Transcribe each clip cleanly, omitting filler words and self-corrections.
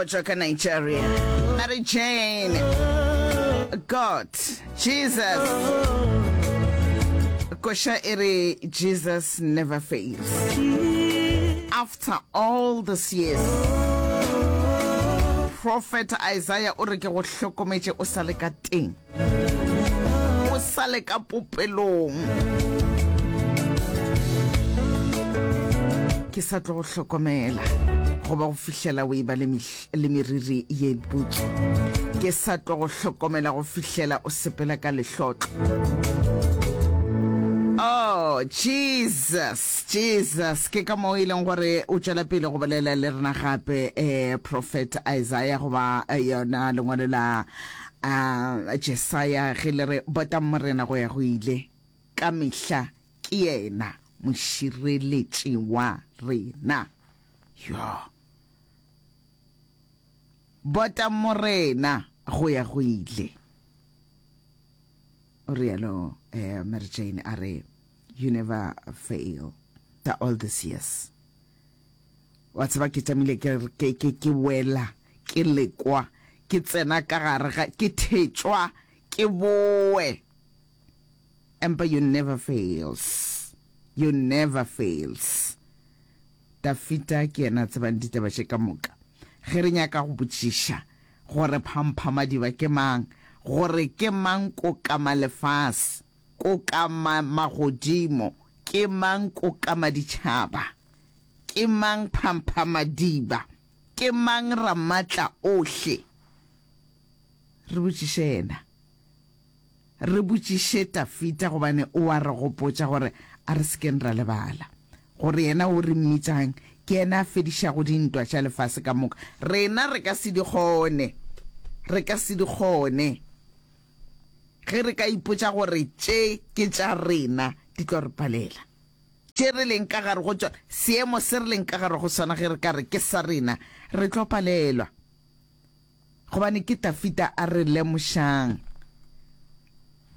tšwa ka Nigeria. Mary Jane, God, Jesus. Koša e re Jesus never fails. After all these years, Prophet Isaiah o re ke go hlokometše o sa le ka teng. O sa le ka popelong. Ke sa tlo go hlokomela goba go fihlela o eba le, le meriri ye putswa. Ke sa tlo go hlokomela go fihlela o sepela ka lehlotlo. Oh, Jesus, Jesus. Ke ka moo e leng gore o tšwela pele go bolela le rena gape, eh, Prophet Isaiah goba eh, yona lengwalo la A Jesaya ge le re, Botang Morena go ya go ile, ka mehla ke yena mošireletši wa rena. Yo! Botang Morena go ya go ile. O rialo eh, Mary Jane a re, You never fail. After all these years. Wa tseba ke tšamile ke ke ke ke wela, ke lekwa, ke tsena ka gare ga, ke thetšwa, ke boe. Empa you never fails. You never fails. Dafita ke yena a tsebang ditaba tše ka moka. Ge re nyaka go botšiša gore Phamphamadiba ke mang, gore ke mang Kokamalefase, Kokama magodimo, ke mang Kokama ditšhaba, Ke mang Phamphamadiba? Ke mang Ramatla-ohle? Re botšiše yena. Re botšiše Tafita gobane o a re gopotša gore a re se keng ra lebala gore yena o re mmitšang ke yena a fedišago dintwa tša lefase ka moka. Rena re ka se di kgone. Re ka se di kgone. Ge re ka ipotša gore tše ke tša rena, di tlo re palela. Tše re leng ka gare go tšona, seemo se re leng ka gare go sona, ge re ka re ke sa rena, re tlo palelwa. Gobane ke Tafita a re lemošang.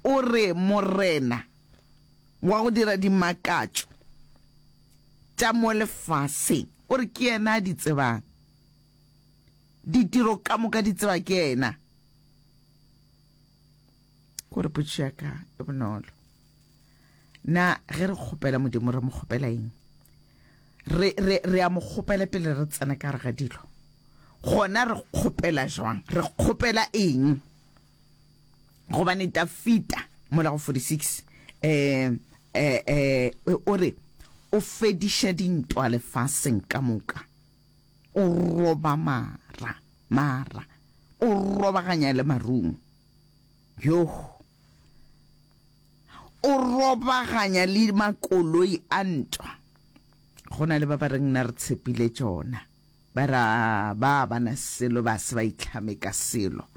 O re, Morena wa go dira dimakatšo tša mo lefaseng, o re ke yena a di tsebang. Ditiro ka moka di tseba ke yena. Ko re potšišo ya ka e bonolo. Na ge re kgopela Modimo re mo kgopela eng? Re, re, re a mo kgopela pele re tsena ka gare ga dilo. Gona re kgopela jwang? Re kgopela eng? Gobane Dafita mola go 46 eh, eh, eh, o re o fediša dintwa lefaseng ka moka, o roba mara, mara, o robaganya le marumo. Yoh! O robaganya le makoloi a ntwa. Go na le ba ba reng nna re tshepile tšona. Ba re a ba ba na selo ba se ba itlhame ka selo.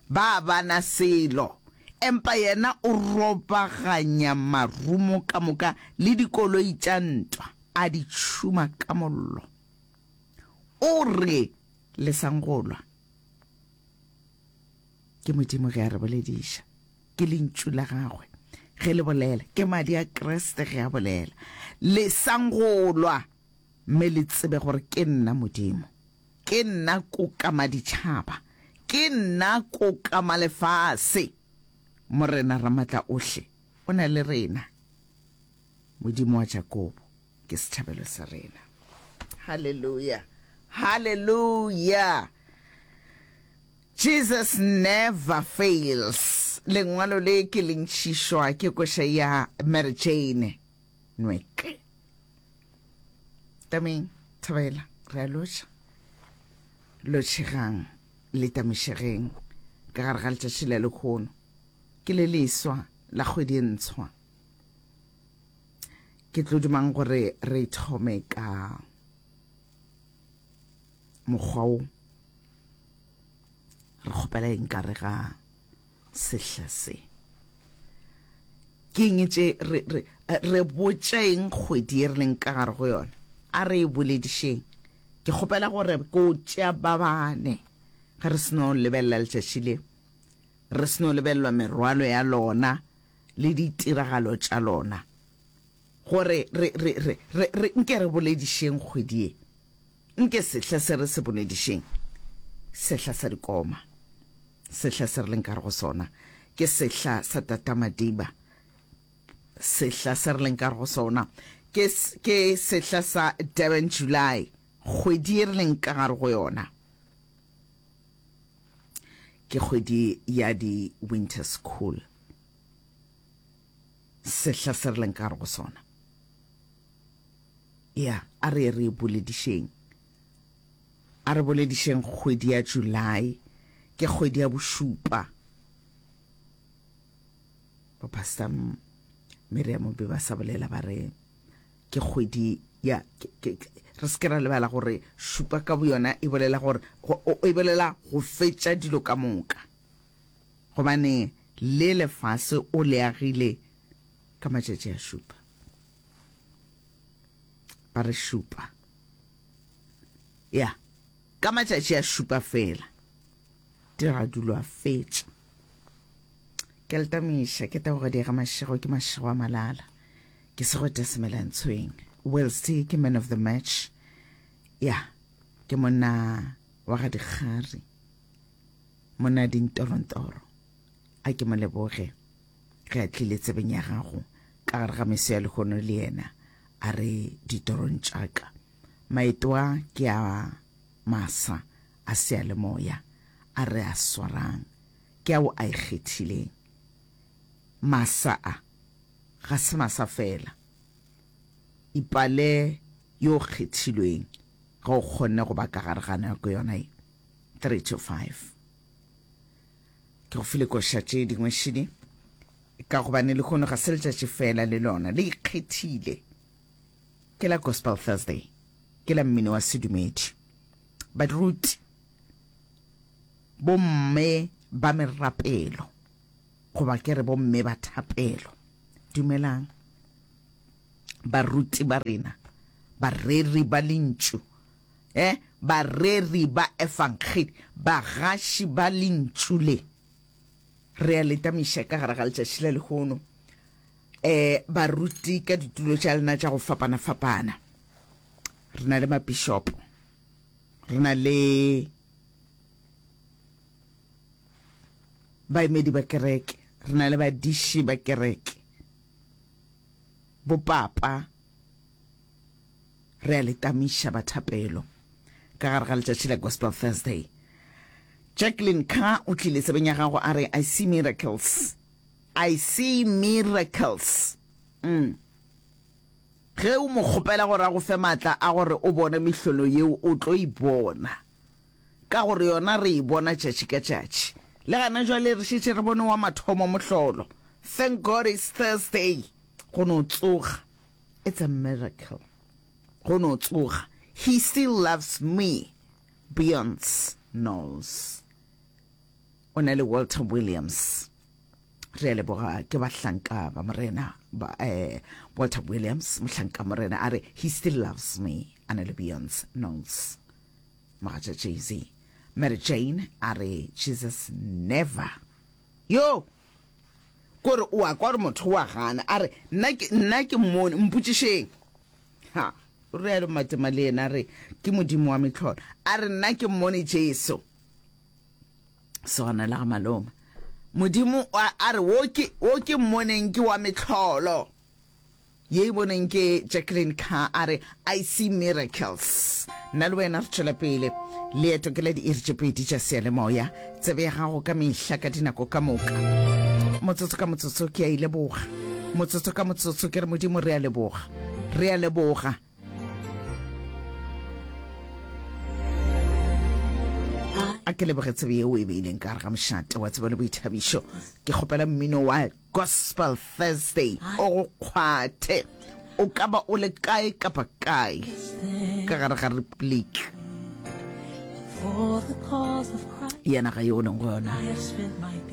Ba ba na selo. Empa yena o robaganya marumo ka moka le dikoloi tša ntwa, a di tšhuma ka mollo. O re, Lesang go lwa. Ke Modimo ge a re bolediša. Ke Lentšu la Gagwe ge le bolela. Ke Madi a Kriste ge a bolela. Lesang go lwa, mme le tsebe gore ke nna Modimo. Ke nna Kokamaditšhaba. Ke nna Kokamalefase. Morena Ramatlaohle o na le rena. Modimo wa Jakobo ke setšhabelo sa rena. Haleluya! Haleluya! Jesus never fails. Lengwalo le ke le ntšhišwa ke koša ya Mary Jane Nweke. Tameng, thabela, re a lotšha. Lotšhegang le tamišegeng ka gare ga letšatši la lekhono. Ke le leswa la kgwedi e ntshwa. Ke tlo dumang gore re thome ka mokgwa wo re kgopela eng ka re ga sehla se ke eng tše re re re botša eng kgwedi e re leng ka gare go yona a re e boledišeng ke kgopela gore ko tšea ba bane ge re seno lebelela letšatši le re seno lebelelwa merwalo ya lona le ditiragalo tša lona gore re re re re re nke re boledišeng kgwedi ye Nke sehla se re se boledišeng. Sehla sa dikoma. Sehla se re leng ka gare go sona ke sehla sa Tata Madiba. Sehla se re leng ka gare go sona ke, ke sehla sa Durban July, kgwedi ye re leng ka gare go yona ke kgwedi ya di winter school. Sehla se re leng ka gare go sona. Ya, a re ye re e boledišeng. A re boledišeng kgwedi ya July, ke kgwedi ya bošupa. Bo Pastor Miriam be ba sa bolela ba re ke kgwedi ya ke, ke, ke, re se ke ra lebala gore šupa ka boyona e bolela gore go, e bolela go fetša dilo ka moka. Gobane le lefase o le agile ka matšatši a šupa. Ba re šupa. Ya, ka matšatši a šupa fela, diradulo a fetša. Ke letamiša, ke tebogedi ga mašego, ke mašego a malala. Ke segwete semelantshweng. Welsi ke man of the match. Ya, ke monna wa ga dikgari. Monna dintorontoro. A ke mo leboge ge a tlile tsebeng ya gago ka gare ga meso ya lehono le yena a re ditorong tša ka. Maeto a ke a masa a seyalemoya a re a swarang, ke ao a ikgethileng. Masa a ga se masa fela. Ipale yo o kgethilweng ge o kgonne go ba ka gare ga nako yona ye. 3 to 5. Ke go file koša tše dingwe šidi, ka gobane lehono ga se letšatši fela le lona le ikgethile. Ke la Gospel Thursday, ke la mmino wa sedumedi. Baruti, bomme ba merapelo, goba ke re bomme ba thapelo, dumelang. Baruti ba rena, bareri ba lentšu, eh, bareri ba efangedi, bagaši ba lentšu le, re a le tamiša ka gare ga letšatši la lehono. Eh, baruti ka ditulo tša lena tša go fapana-fapana. Re na le mapišopo, re na le baemedi ba kereke, re na le badiši ba kereke, bopapa, re a le tamiša ba thapelo ka gare ga letšatši la Gospel Thursday. Jacqueline Carr o tlile tsebeng ya gago a re, I see miracles. I see miracles. Mm. Ge o mo kgopela gore a go fe maatla a gore o bone mehlolo yeo, o tlo e bona. Ka gore yona re e bona tšatši ka tšatši. Le gana jwale re šetše re bone wa mathomo mohlolo. Thank God it's Thursday. Go no tsoga. It's a miracle. Go no tsoga. He still loves me. Beyonce Knowles. O na le Walter Williams. Re a leboga ke bahlanka ba Morena ba eh, Walter Williams, mohlanka Morena a re he still loves me. A na le Beyonce Knowles. Mogatša Jay-Z. Mary Jane a re Jesus never. Yo! Kore o a kwa gore motho o a gana. A re nna ke nna ke mmone, mpotšišeng. Ha, o realo Matema le yena a re ke Modimo wa mehlolo. A re nna ke mmone Jesu. Sogana la ga malome. Modimo a re wo ke wo ke mmoneng ke wa mehlolo. Ye e boneng ke Jacqueline Carr a re I see miracles. Nna le wena re tšwela pele. Leeto ke la diiri tše pedi tša seyalemoya. Tsebe ya gago ka mehla ka dinako ka moka. Motsotso ka motsotso ke a e leboga. Motsotso ka motsotso ke re Modimo re a leboga. Re a leboga. A ke leboge tsebe yeo e beileng ka gare ga mošate wa tsebo le boithabišo. Ke kgopela mmino wa Gospel Thursday o go kgwathe. O ka ba o le kae kapa kae ka gare ga Republiki ya naga yeo o leng go yona.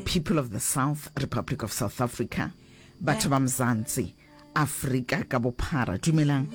People of the South, Republic of South Africa, batho ba Mzansi, Afrika ka bophara, dumelang.